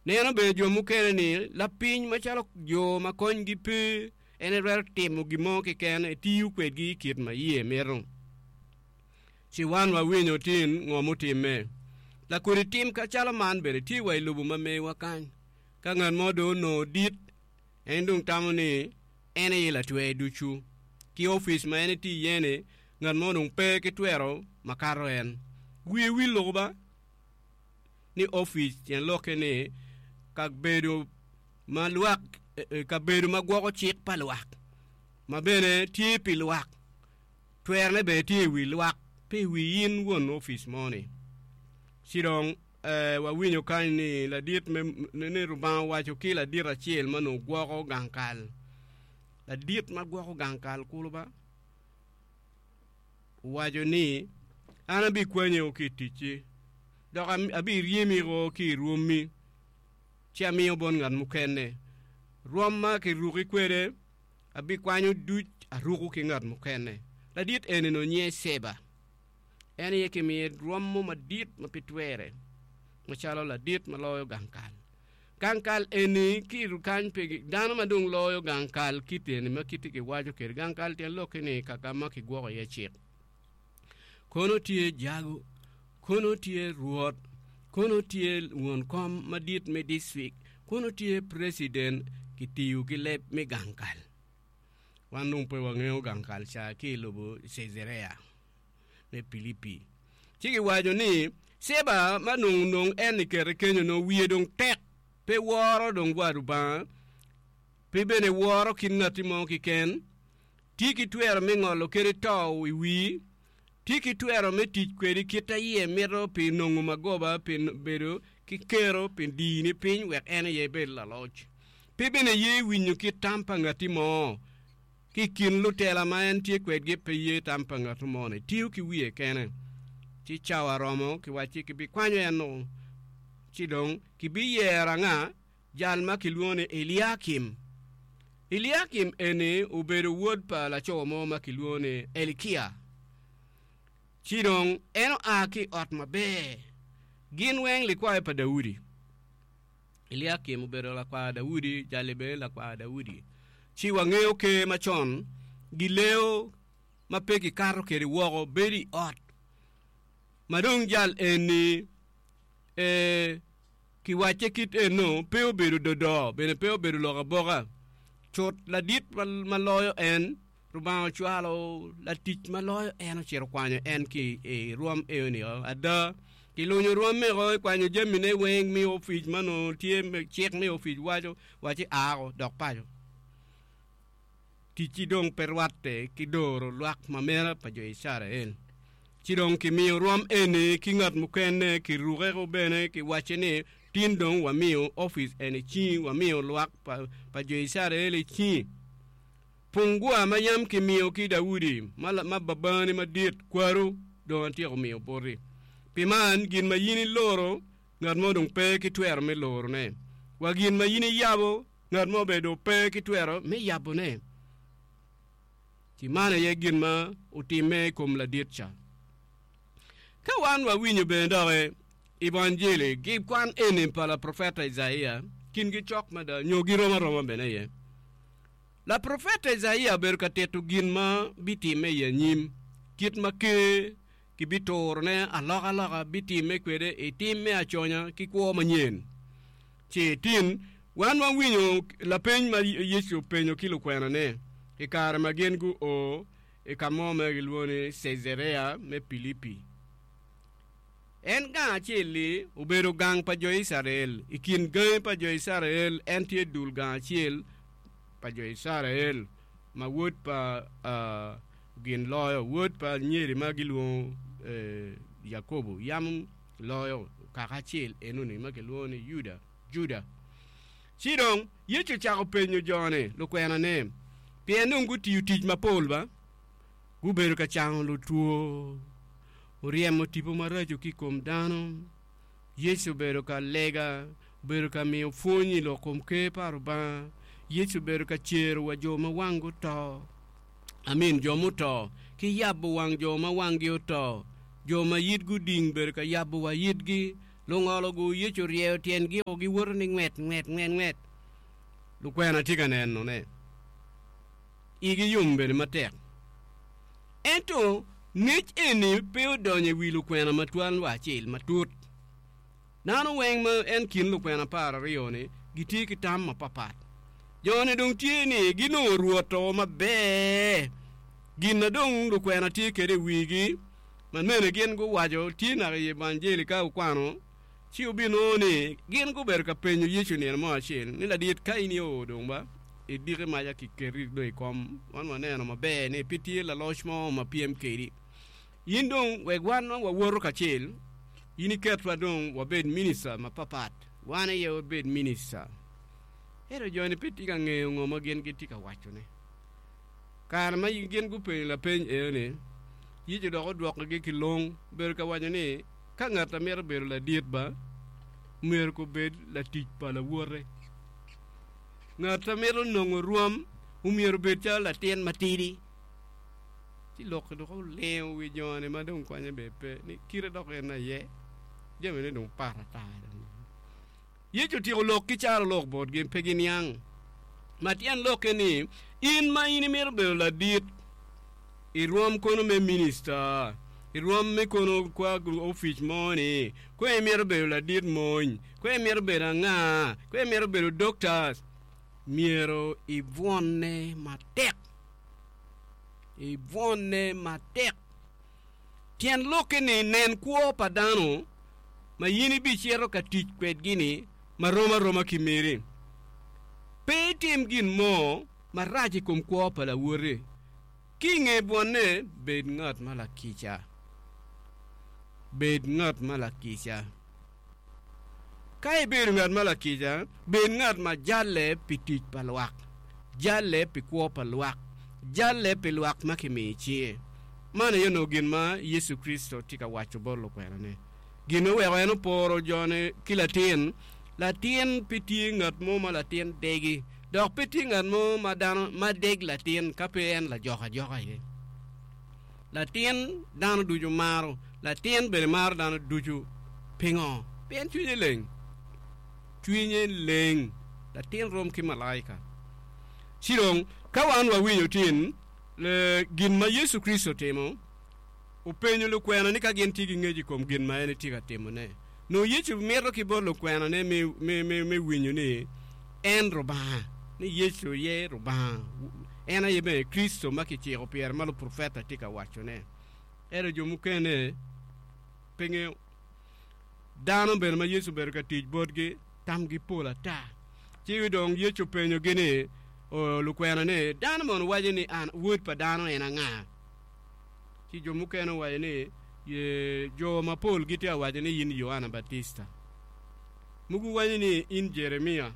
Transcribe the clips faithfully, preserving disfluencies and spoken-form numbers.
Neno bene jo mukene ni lapiny macalo jo ma konygi pe, en etwero timo gin mo keken, etiyo kwedgi i kit ma iye mito. Ci wan wawinyo tin ngo mutimme. Lakodi tim kacalo man bene tye wa i lobo ma mewa kany. Ka ngat mo dong onongo dit, en dong tamo ni en aye latwer ducu. Ki opic ma en etye iye-ni, ngat mo dong pe ki twero makato en. Wiye wil loko ba ni opic tyen lokke ni kabedo ma lwak kabedo ma gwoko cik pa lwak ma bene tye pi lwak. Twerone bene tye i wi lwak, pe i wi in won opic mo-ni. Ci dong wawinyo kany ni ladit me ni Rubanga owaco ki ladit acel ma onongo gwoko gang kal. Ladit ma gwoko gang kal kulu ba owaco ni, An abikwanyi ki i ticci, dok abiryemi ki i rwommi, ci amiyo bot ngat mukene. Rwom ma kiruki kwede abikwanyo duc aruko ki ngat mukene. Ladit eni onongo nyinge Ceba. En aye kimiye rwom mo madit ma pe twere, macalo ladit ma loyo gang kal. Gang kal eni ki kany pe dano ma dong loyo gang kal kit eni ma kiti kiwaco kwede. Gang kal tyen lokke ni kaka ma kigwoko iye cik. Kono tye jago, kono tye rwot, kono tye won kom madit me dictrict, kono tye president kitiyo ki leb me gang kal. Wan dong pe wangeyo gang kal ca ki i lobo Cejareya me Pilipi. Ci kiwaco ni Ceba ma nongo nong en ikete kenyo nongo wiye dong tek, pe woro dong wa Lubanga, pe bene woro kit ngatti mo keken, tye ki twero me ngolo kede to i wii, tye ki twero me tic kwedi kit a iye mito pi nongo magoba pi bedo ki kero pi dini piny wek en aye ebed laloc. Pe bene ye winyo kit tam pa ngatti mo. Ki i kin lutela ma en tye kwedgi pe ye tam pa ngat mo-ni, tiyo ki wiye kene. Ci cawa romo, kiwacci kibikwanyo en-nu, ci dong kibiyero anga? Jal ma kilwongo ni Eliakim. Eliakim eni obedo wod pa laco mo ma kilwongo ni Elikia. Ci dong en oa ki i ot maber. Gin weng likwayo pa Daudi. Eliakim obedo lakwar Daudi, jali bene lakwar Daudi. Ci wangeyo ker macon gileo ma pe gikato kwede woko bedo i ot ma dong jal eni e kiwacce kit eno pe obedo dodo bene pe obedo lok aboka. Cut ladit ma loyo en Rubanga ocwalo latic ma loyo en ocito okwanyo en ki i rwom eoni. Ada, kilunyo rwomme-o, ikwanyo jamine weng mi opic ma onongo tye cik me opic waco, wacci ao dok paco. Ticci dong pe rwatte ki doro lwak ma mera pa jo Icrael. Ci dong kimiyo rwom eni ki ngat mukene, kirukeko bene, kiwacce ni, Tin dong wamiyo opic eni i cingi, wamiyo lwak pa jo Icrael i cingi. Pungwa ma yam kimiyo ki Daudi ma babani madit, kwaru, dong atyeko miyo boti. Pi man, gin ma in iloro, ngat mo dong pe ki twero me lorone, wa gin ma in iyabo, ngat mo bene dong pe ki twero me yabone. Ci man aye gin ma otimme i kom ladit ca. Ka wan wawinyo bene doki i Banjili, gikwan eni pa laprofeta Icaia, kingi cok mada nyo girom aroma bene aye. Laprofeta Icaia obedo ka tito gin ma bitimme i anyim, kit ma Ker kibiturone alokaloka bitimme kwede i tim me aconya ki kwo manyen. Ci tin, wan wawinyo lapeny ma Yecu openyo ki lukwenane i kare ma gin guo i ka mo ma gilwongo ni Cejareya me Pilipi. En gang acel-li obedo gang pa jo Icrael. I kin gangi pa jo Icrael, en tye dul gang acel pa jo Icrael ma wod pa gin loyo, wod pa anyeri ma gilwongo Yakobo yam loyo kaka acel enoni ma kilwongo ni Yuda, Juda. Ci dong Yecu ocako penyo jo-ni, lukwenane, pien dong gutiyo tic mapol ba, gubedo ka cango lutwo, oryemo tipo maraco ki i kom dano. Yecu obedo ka lega, obedo ka miyo pwony i lok kom Ker pa Lubanga. Yecu obedo ka cero wa jo ma wanggi oto, amin, jo muto, ki yabo wang jo ma wanggi oto. Jo ma yitgi oding bedo ka yabo wa yitgi. Lungolo-gu Yecu oryeyo tyengi o giwoto ni ngwet ngwet ngwet ngwet. Lukwena tye ka nenone. Igi yom bene matek. Ento ngec eni pe odonyo i wi lukwena matwal wa acel matut. Dano weng ma en kin lukwena apar aryo-ni gitye ki tam mapapat. Jo-ni dong tye ni ginongo Rwot-to maber. Gin na dong lukwena tye kwede i wigi ma mene gin guwaco tye naka i Evanjeli ka wukwano, ci wubinongo ni gin gubedo ka penyo Yecu nino mo acel ni, Ladit, ka in io dong ba idiki maca kiketi dong i kom, wan waneno maber ni pe tye laloc mo ma pyem kedi. In dong wek wan wawoto kacel, in iketwa dong wabed minista mapapat, wan aye wabed minista. Ento jo-ni pe tye ka ngeyo ngo ma gin gitye ka wacone. Kare ma gin gupenyo lapeny eno-ni, Yecu dok odwokogi ki long, obedo ka waco ni, Ka ngat a mito bedo ladit ba, myero kobed latic pa lawote. Ngat a mito nongo rwom, myero obed calo latin matidi. Ci lok dok olingo wi jo-ni ma dong konye bene pe, ni kite dok en aye, jamine dong pat ata. Yecu otyeko lok ki carolok botgi, pe giniang. Ma tyen lokke ni, in ma in imito bedo ladit i rwom kono me minista, i rwom me kono kwa opic mo-ni, kwe imito bedo ladit mony, kwe imito bedo anga, kwe imito bedo dokta, myero ibwonne matek. Ibwonne matek. Tyen lokke ni nen kwo pa dano ma in ibicito ka tic kwedgi-ni ma rom aroma ki meri. Pe itim gin mo marac i kom kwo pa lawoti. Ki i nge bwonne, bed ngat ma lakica. Bed ngat ma lakica. Ka ibedo ngat ma lakica, bed ngat ma jalle pi tic pa lwak, jalle pi kwo pa lwak, jalle pi lwak ma kimiyo i cinge. Man aye onongo gin ma Yecu Kricito tye ka waco bot lukwenane. Gin oweko en oporo jone ki latin. Latin pe tye ngat mo ma latin degi, dok pe tye ngat mo ma dano ma deg latin ka pe en lajok ajoka aye. Latin dano ducu maro, latin bene maro dano ducu. Pingo? Pien cwinye leng. Cwinye leng. Latin rom ki malaika. Ci dong, ka wan wawinyo tin gin ma Yecu Kricito otimo, openyo lukwena ni ka gin tye ki ngec i kom gin ma en etye ka timone. Nongo Yecu mito ki bot lukwenane me, me, me, me winyo ni en Rubanga, ni Yecu aye Rubanga, en aye bene Kricito ma kiciko pire ma luprofeta tye ka wacone. Ento jo mukene pe ngeyo. Dano bene ma Yecu obedo ka tic botgi tamgi pol ata. Ci dong Yecu openyogi ni, lukwena ni, Dano mono waco ni an Wod pa dano en anga? Ci jo mukene owaco ni, Jo mapol gitye ka waco ni in Yoana Batista. Mogo waco ni in Jeremia.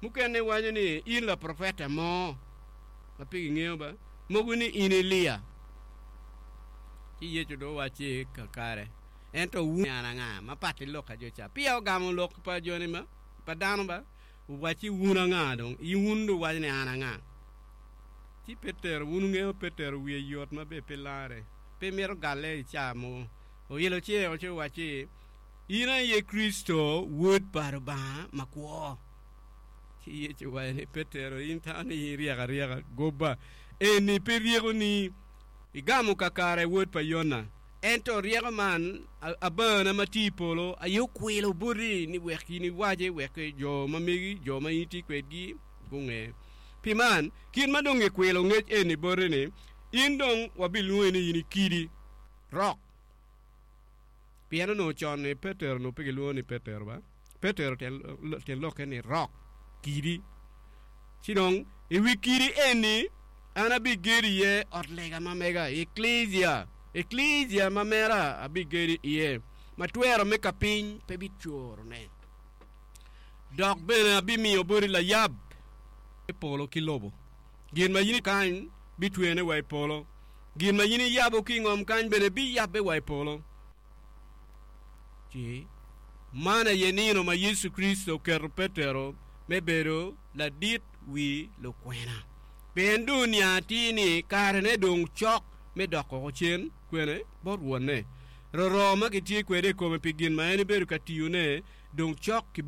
Mukene waco ni in laprofeta mo ma pe gingeyo ba. Mogo ni in Elia. Ci Yecu dong owacci kakare, Ento wun an anga? Ma pat ki lok pa jo ca. Peya ogamo lok pa joni ma pa dano ba, owacci wun anga dong? In wun dong wuwaco ni an anga? Ci Petero, wun wungeyo Petero wiye yot ma bene pe larre, pe mito galle i ca mogo. Oilo cinge ci owacci, In aye Kricito, Wod pa Lubanga makwo. Ci Yecu owaco ni, Petero, in itamo ni in iryek aryeka? Goba! Eni pe ryekoni. Igamo kakare, wod pa Yona. Ento ryeko man, Abana ma tye i polo aye okwilo boti ni wek in iwace, wek jo ma megi, jo ma in itye kwedgi gunge. Pi man, kit ma dong gikwilo ngec eni boti-ni, in dong wabilwongi ni in i kidi, rok. Pien onongo con-ni Petero onongo pe gilwongo ni Petero ba. Petero tyen lokke ni rok, kidi. Ci dong i wi kidi eni an abigedo iye ot lega ma mega, eklija, eklija ma mera abigedo iye, ma twero me kapiny pe bicorone. Dok bene abimiyo boti layab me polo ki lobo. Gin ma in kany bitwene wa i polo, gin ma in iyabo ki i ngom kany bene biyabbe wa i polo. Ci man aye nino ma Yecu Kricito oketo Petero me bedo ladit wi lukwena. Pien dong oniang atir ni karene dong cok me dok oko cen kwene bot Wonne. Roro ma kitye kwede i kome pi gin ma en ebedo ka tiyone dong cok kibino